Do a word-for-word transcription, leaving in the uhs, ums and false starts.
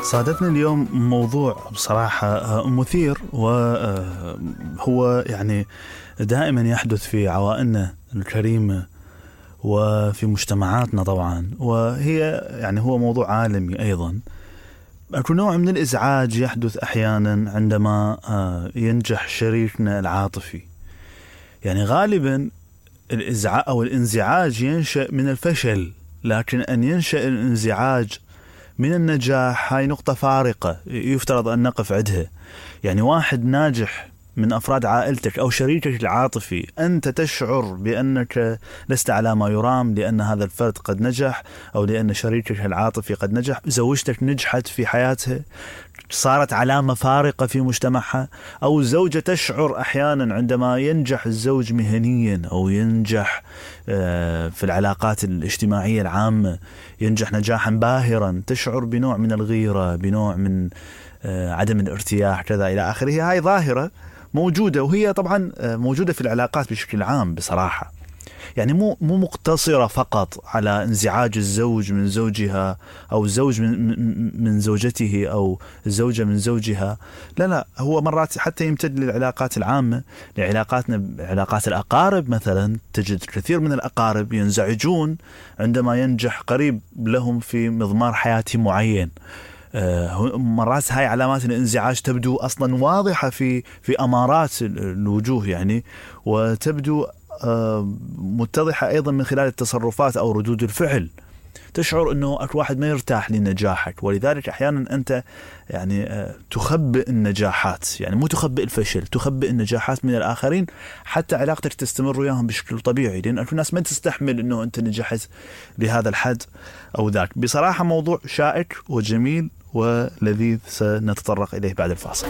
صادفني اليوم موضوع بصراحة مثير، وهو يعني دائما يحدث في عوائلنا الكريمة وفي مجتمعاتنا طبعا، وهي يعني هو موضوع عالمي أيضا. أكو نوع من الإزعاج يحدث أحيانا عندما ينجح شريكنا العاطفي. يعني غالبا الإزعاج أو الانزعاج ينشأ من الفشل، لكن أن ينشأ الانزعاج من النجاح هاي نقطة فارقة يفترض أن نقف عندها. يعني واحد ناجح من أفراد عائلتك أو شريكك العاطفي، أنت تشعر بأنك لست على ما يرام لأن هذا الفرد قد نجح، أو لأن شريكك العاطفي قد نجح، زوجتك نجحت في حياتها، صارت علامة فارقة في مجتمعها، أو الزوجة تشعر أحيانا عندما ينجح الزوج مهنيا أو ينجح في العلاقات الاجتماعية العامة، ينجح نجاحا باهرا، تشعر بنوع من الغيرة، بنوع من عدم الارتياح كذا إلى آخره. هاي ظاهرة موجودة، وهي طبعا موجودة في العلاقات بشكل عام بصراحة. يعني مو مو مقتصرة فقط على انزعاج الزوج من زوجها أو الزوج من من زوجته أو الزوجة من زوجها، لا لا، هو مرات حتى يمتد للعلاقات العامة، لعلاقاتنا علاقات الأقارب مثلا. تجد كثير من الأقارب ينزعجون عندما ينجح قريب لهم في مضمار حياتي معين. مرات هاي علامات الانزعاج تبدو أصلا واضحة في في أمارات الوجوه يعني، وتبدو متضحة أيضا من خلال التصرفات أو ردود الفعل. تشعر أنه أكو واحد ما يرتاح لنجاحك، ولذلك أحيانا أنت يعني تخبئ النجاحات، يعني مو تخبئ الفشل، تخبئ النجاحات من الآخرين حتى علاقتك تستمر وياهم بشكل طبيعي، لأن أكو ناس ما تستحمل أنه أنت نجحت لهذا الحد أو ذاك. بصراحة موضوع شائك وجميل ولذيذ، سنتطرق إليه بعد الفاصل.